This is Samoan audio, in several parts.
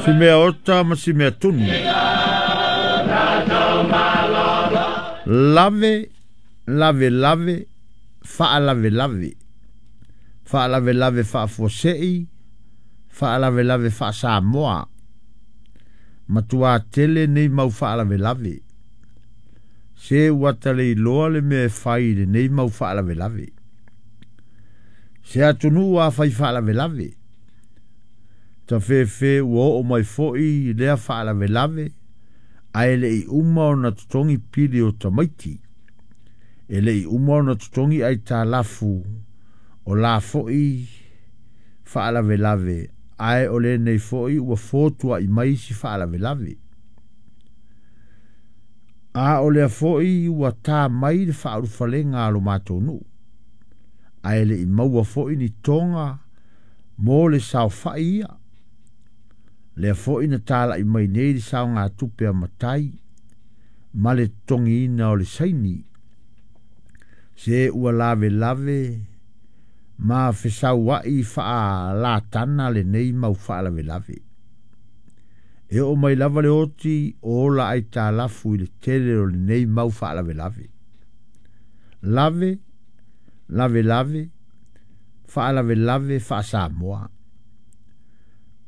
Si mea ota ma si mea tunu. Lave, lave, lave, faalavelave. Faalavelave faafuasei, faalavelave faasamoa. Matuā tele nei mau faalavelave. Se ua taleiloa le mea e fai i lenei mau faalavelave. Se atunuu a fai faalavelave. Tafefe ua oo mai foi lea faalavelave ae le'i uma ona totogi pili o tamaiti. E le'i uma ona totogi aitalafu o la foi faalavelave ae o lenei foi ua fotua'i mai isi faalavelave. A o lea foi ua tā mai le faaulufalega a lo matou nuu ae le'i maua foi ni toga mo le saofa'i ia. Lea foi na tala'i mai nei le saogatupe a matai ma le totogiina o le saini. Se ua lavelave ma fesaua'i faalatana lenei mau faalavelave. E oo mai lava le oti o ola aitalafu i le tele o lenei mau faalavelave. Lave, lave, lave, faalavelave faasamoa.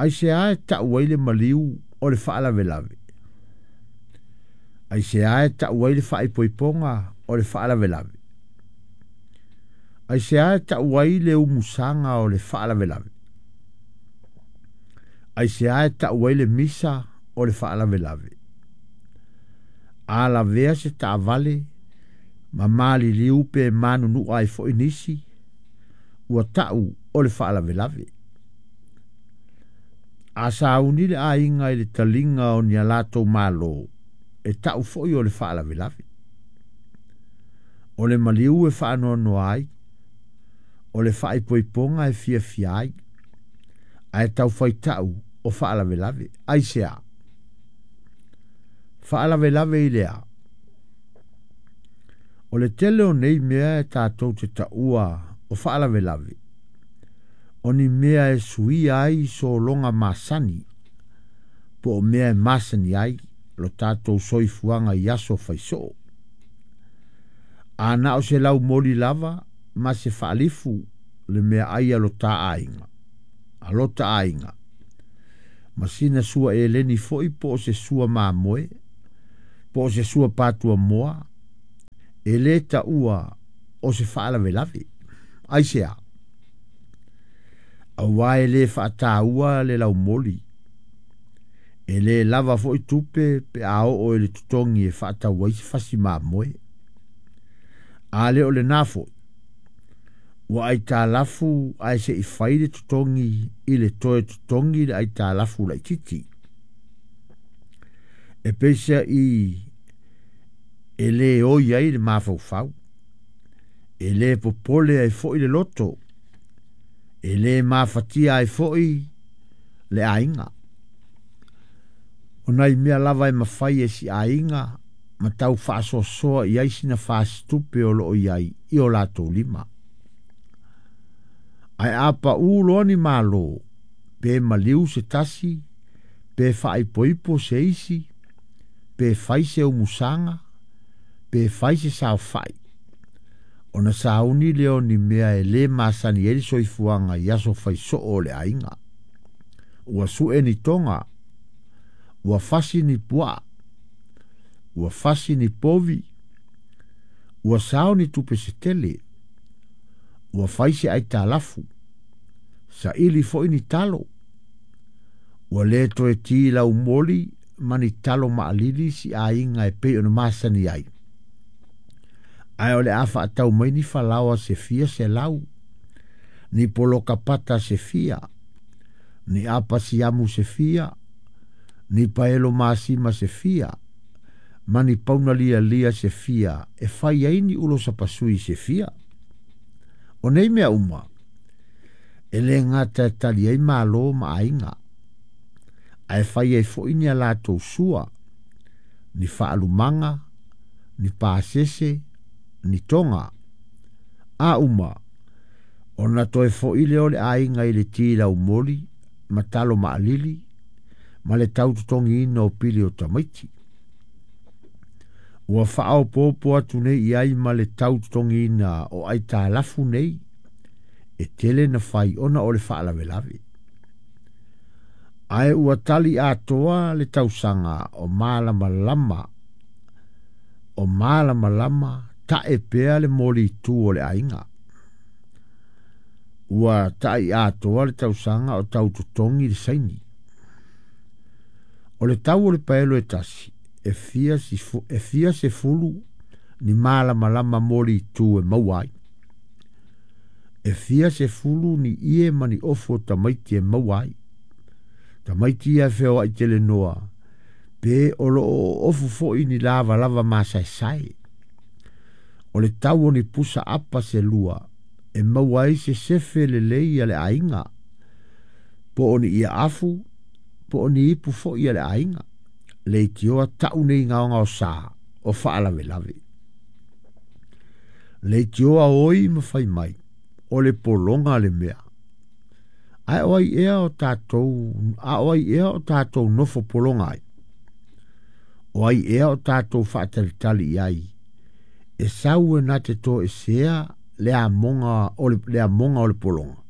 Aisea e ta'u ai le maliu o le faalavelave? Aisea e ta'u ai le faaipoipoga o le faalavelave? Aisea e ta'u ai le umusaga o le faalavelave? Aisea e ta'u ai le misa o le faalavelave? A lavea se taavale ma maliliu pe manunu'a ai fo'i nisi, ua ta'u o le faalavelave. A sauni le aiga i le taliga o ni a latou mālō, e ta'u fo'i o le faalavelave. O le maliu e faanoanoa ai, o le faaipoipoga e fiafia ai, ae taufaita'u o faalavelave. Aisea? Faalavelave i le a? O le tele o nei mea e tatou te taua o faalavelave, o ni mea e suia ai sologa masani, po o mea e masani ai lo tatou soifuaga i aso faisoo. A na o se laumoli lava ma se faalifu le meaai a lo tā aiga, a lota aiga, ma sina sua eleni foi po o se sua mamoe, po o se sua patuamoa, e lē taua o se faalavelave. Aisea? Auā e lē faatāua le laumoli. E lē lava foi tupe pe a oo i le totogi e faatau ai se fasi mamoe. A le o lenā foi, ua aitalafu ae se'i fai le totogi i le toe totogi le aitalafu laititi. E peisea'i e lē oi ai le mafaufau, e lē popole ai foi le loto, e lē mafatia ai foi le aiga. O nai mea lava e mafai e si aiga ma tau faasoasoa i ai sina fasitupe o loo i ai i o latou lima. Ae a paʻū loa ni mālō, pe maliu se tasi, pe faaipoipo se isi, pe fai se umusaga, pe fai se saofa'i, ona sauni lea o ni mea e lē masani ai le soifuaga i aso faisoo o le aiga. Ua su'e ni toga, ua fasi ni puaa, ua fasi ni povi, ua sao ni tupe se tele, ua fai se aitalafu, saili foi ni talo, ua lē toe tī laumoli ma ni talo maalili si aiga e pei ona masani ai. Ae o le a faatau mai ni falaoa se fia selau, ni poloka pata se fia, ni apa siamu se fia, ni paelo masima se fia, ma ni pauna lialia se fia e fai ai ni ulo sapasui se fia. O nei mea uma, e lē gata e tali ai mālō ma aiga, ae fai ai fo'i ni a latou sua, ni faalumaga, ni pasese, ni toga. A uma, ona toe fo'i lea o le aiga i le tī laumoli ma talo maalili, ma le tau totogiina o pili o tamaiti. Ua faaopoopo atu nei i ai ma le tau totogiina o aitalafu nei e tele na fai ona o le faalavelave. Ae ua tali atoa le tausaga o malamalama tae pea le molitu o le aiga. Ua tai atoa le tausaga o tau totogi le saini. O le tau o le paelo e tasi, e fia se fulu ni malamalama molitu e maua ai. E fia se fulu ni ie ma ni ofo tamaiti e maua ai. Tamaiti ia wheo ai tele noa, pe o lo o ofu foi ni lava lava masaesai. O le tau o ni pusa apa se lua, e maua ai se sefe le lei a le aiga, po o ni ia afu, po o ni ipu foi a le aiga, le itioa tau nei ngaonga o sa, o faalavelave. Le itioa oi ma fai mai, o le polonga le mea. Ae o ai ea o tātou nofo polonga ai. O ai ea o tātou whaatalitali i ai. E sau e nā te tō e sea le a monga o le polonga.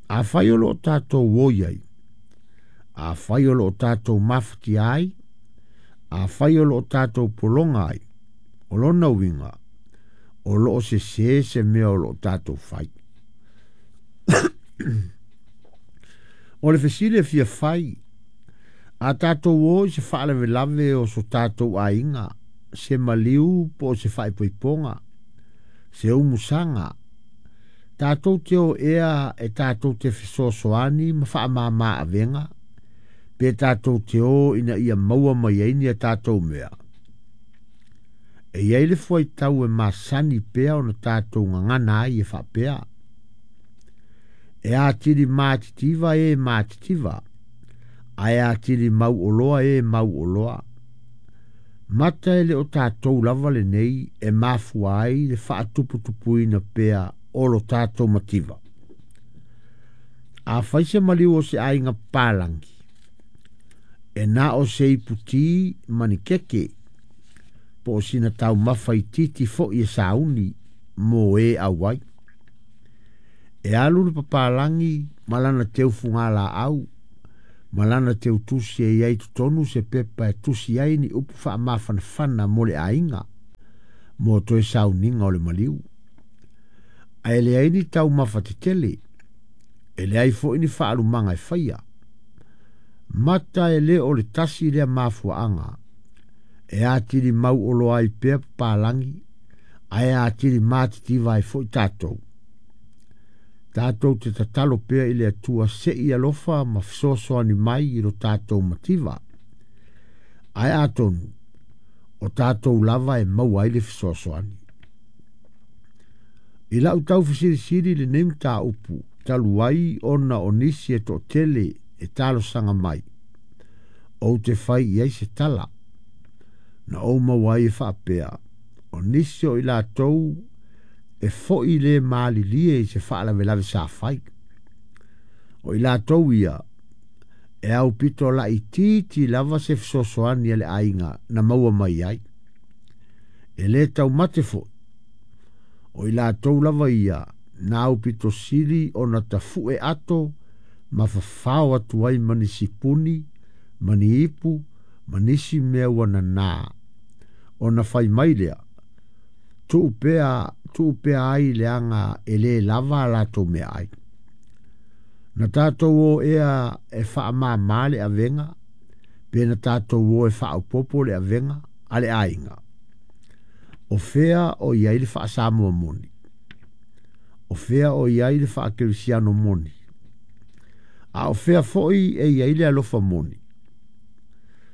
A whai o lo o tātou oi ai. A whai o lo o tātou mawhati ai. A whai o lo o tātou polonga ai. O lona uinga. O lo o se se se mea o lo o tātou whai. O le fesile fia fai, a tātou o i se faalavelave o so tātou aiga, se maliu po o se faaipoipoga, se umusaga, tātou te o ea e tātou te fesoasoani ma faamāmā avega, pe tātou te o ina ia maua mai ai ni a tātou mea. E iai le fuaitau e masani pea ona tātou gagana ai e faapea. E atili mātitiva e mātitiva, ae atili mau oloa e mau oloa. Mata e le o tātou lava le nei e mafua ai le faatuputupuina pea o lo tātou mativa. A fai se maliu o se aiga palangi, e na o se iputi manikeke, po o sina tau mafa i titi fo i e sauni mo e auai. E alu le papalangi malana teu fungala au, malana teu tusi e iai totonu se pepa e tusi ai ni upu faamafanafana mo le aiga, mo toe sauniga o le maliu. Ae leai ni taumafa tetele, e leai foʻi ni faalumaga e faia. Mata e lē o le tasi lea mafuaaga, e atili mau oloa ai pea papalangi, ae atili matitiva ai foʻi tatou. Tātou te tatalo pea i le atua se i alofa ma fesoasoani mai i lo tātou mativa. Ae atonu, o tātou lava e maua ai le fesoasoani. I lau tau fesilisili le nei mataupu, talu ai ona o nisi e toatele e talosaga mai. Ou te fai i ai se tala, na ou maua ai e faapea, o nisi o i latou e foʻi le malilie i se faalavelave sa fai. O i latou ia, e au pito laʻitiiti lava se fesoasoani a le aiga na maua mai ai. E lē taumate foʻi. O i latou lava ia, na au pito sili ona tafuʻe ato ma fafao atu ai ma nisi puni, ma ni ipu, ma nisi mea ua nanā. Ona fai mai lea, tuu pea ai le aga e lē lava a latou mea ai. Na tātou o ea e faamāmā le avega, pe na tātou o e faaopopo le avega a le aiga. O fea o iai le faasamoa moni. O fea o iai le faakerisiano moni. A o fea foʻi e iai le alofa moni.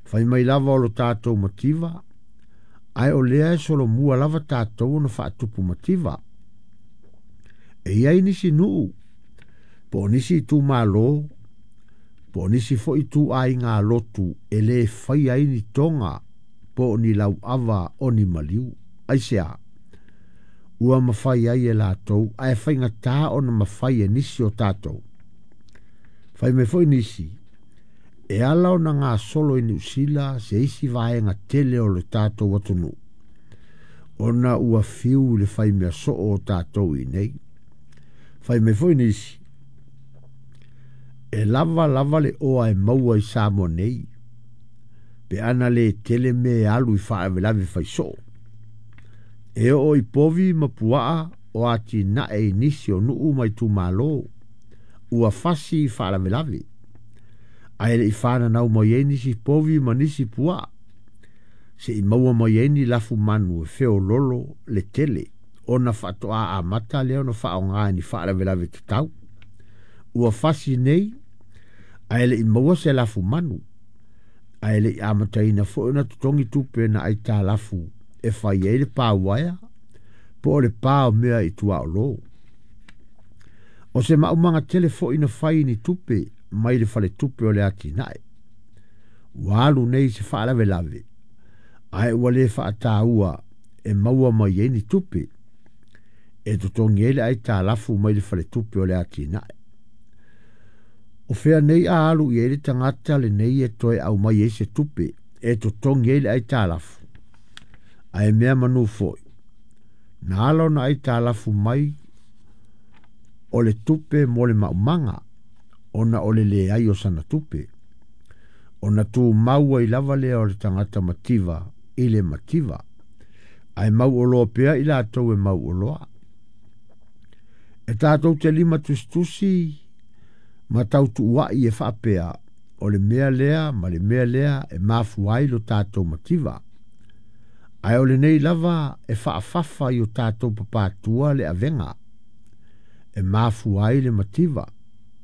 Fai mai lava o lo tātou mativa, ae o lea e solomua lava tātou ona faatupu mativa. E iai nisi nuu, po o nisi itumālō, po o nisi foʻi tuʻaiga lotu e lē fai ai ni toga po o ni lauava o ni maliu. Aisea, ua mafai ai e latou, ae faigatā ona mafai e nisi o tātou. Fai mai foʻi nisi, E ala ona gasolo i Niu Sila se isi vaega tele o le tatou atunuu, ona ua fiu i le faimea soo o tatou i inei. Fai mai foi nisi, e lava lava le oa e maua i Samoa nei, pe ana le tele mea e alu i faalavelave fai soo. E oo i povi ma puaa o atinae i nisi o nuu ma itumalo, ua fasi i faalavelave. Ae le i fananau mai ai nisi povi ma nisi puaa, se'i maua mai ai ni lafumanu e feololo le tele, ona faatoa amata lea ona faaaoga i ni faalavelave tatau. Ua fasi nei, ae le i maua se lafumanu, ae le i amataina foi ona totogi tupe na aitalafu e fai ai le pa uaea, po o le pa o mea i tuaolo. O se maumaga tele foi na fai i ni tupe mai le faletupe o le atinae. Ua alu nei i se faalavelave, ae ua le faataua e maua mai ai ni tupe e totogi ai le aitalafu mai le faletupe o le atinae. O fea nei a alu i ai le tagata lenei e toe aumai ai se tupe e totogi ai le aitalafu, ae mea manu foi, na ala ona aitalafu mai o le tupe mo le maumaga, ona o le leai o sana tupe, ona tumau ai lava lea o le tagata mativa i le mativa, ae mauoloa pea i latou e mauoloa. E tatou te lima tusitusi ma tautuua'i e faapea o le mea lea ma le mea lea e mafua ai lo tatou mativa, ae o lenei lava e faafafa i o tatou papatua le avega e mafua ai le mativa,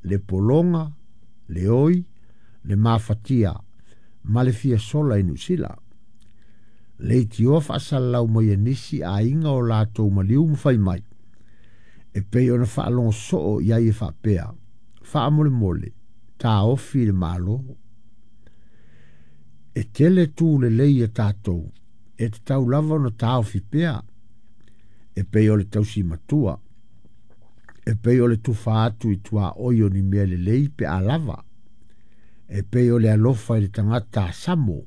le pologa, le oi, le mafatia ma le fia sola i Niu Sila. Leitioa faasalalau mai e nisi aiga o latou maliu ma fai mai, e pei ona faalogo soo i ai e faapea, faamolemole, taofi le Malo. E tele tu lelei a tatou, e tatau lava ona taofi pea, e pei o le tausi matua, e pei o le tufa atu i tuaoi o ni mea lelei pe a lava, e pei o le alofa i le tagata asamo,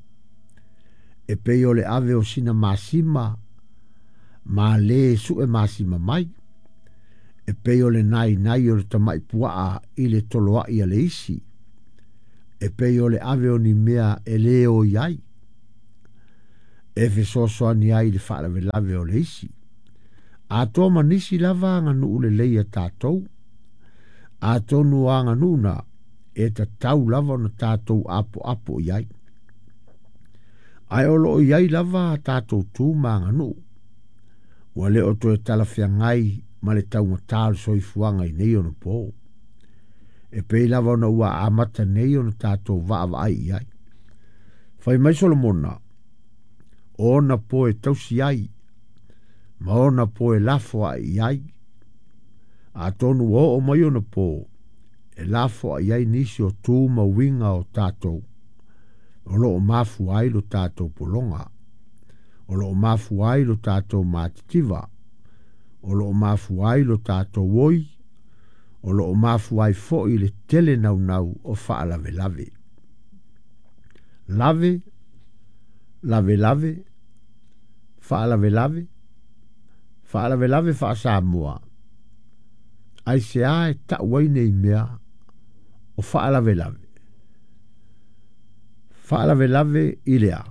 e pei o le ave o sina masima ma lē su'e masima mai, e pei o le nainai o le tama'i puaa i le toloa'i a le isi, e pei o le ave o ni mea e lē oi ai, e fesoasoani ai i le faalavelave o le isi. Atoa ma nisi lava aganuu lelei a tatou, atonu o aganuu na e tatau lava ona tatou apoapo i ai. Ae o loo i ai lava a tatou tu ma aganuu, ua le o toe talafeagai ma le taugatā o le soifuaga i nei ona po. E pei lava ona ua amata nei ona tatou vaavaai i ai. Fai mai Solomona, o ona po e tausi ai, ma ona po e lafoa'i i ai. Atonu ua oo mai ona po e lafoa'i ai nisi o tu ma uiga o tatou, o loo mafua ai lo tatou pologa, o loo mafua ai lo tatou matitiva, o loo mafua ai lo tatou oi, o loo mafua ai foi le tele naunau o faalavelave. Lave, lave lave, faalavelave, faalavelave faa-Samoa, aisea e ta'u ai nei mea o faalavelave? Faalavelave i le a?